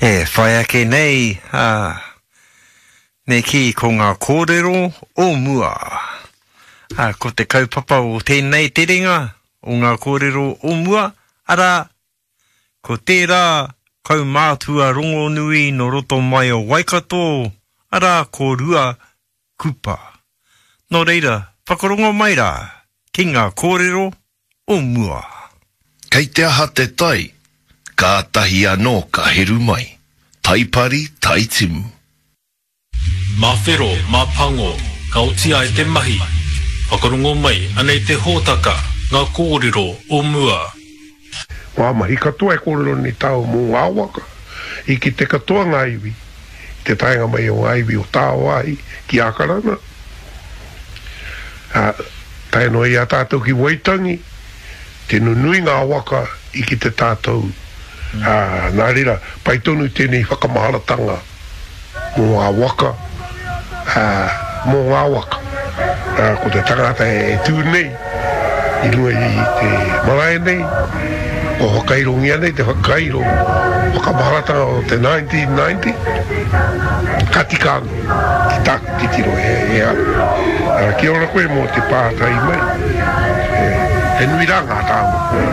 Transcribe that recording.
E whai ake nei, ā, me kī ko ngā kōrero o mua. Ā, ko te kaupapa o tēnei terenga o ngā kōrero o mua, arā, ko tērā kaumātua rongonui nō roto mai o Waikato, arā, ko Rua Kupa. Nō reira, whakarongo mai rā ki ngā kōrero o mua. Kei te aha te tai, kātahi anō ka heru mai. Tai pari, tai timu. Mā whero, mā pango, ka oti ai te mahi. Whakarongo mai, anei te hōtaka, ngā kōrero o mua. Ngā mahi katoa e kōrero nei tāua mō ngā waka, i kite katoa ngā iwi i te taenga mai o ngā iwi o tāwāhi ki Ākarana, ā, tae noa i a tātou ki Waitangi, tino nui ngā waka i kite tātou, ā, nā reira, pai tonu tēnei whakamaharatanga. Mō ngā waka, ā, mō ngā waka. Ā, ko te tangata e tū nei i runga i te marae nei, kua whakairongia nei te whakairo whakamaharatanga o te 1990, ka tika anō ki tāku titiro he, he aha. Ā, kia ora koe mō te pātai mai, he, he nui rā ngā taonga.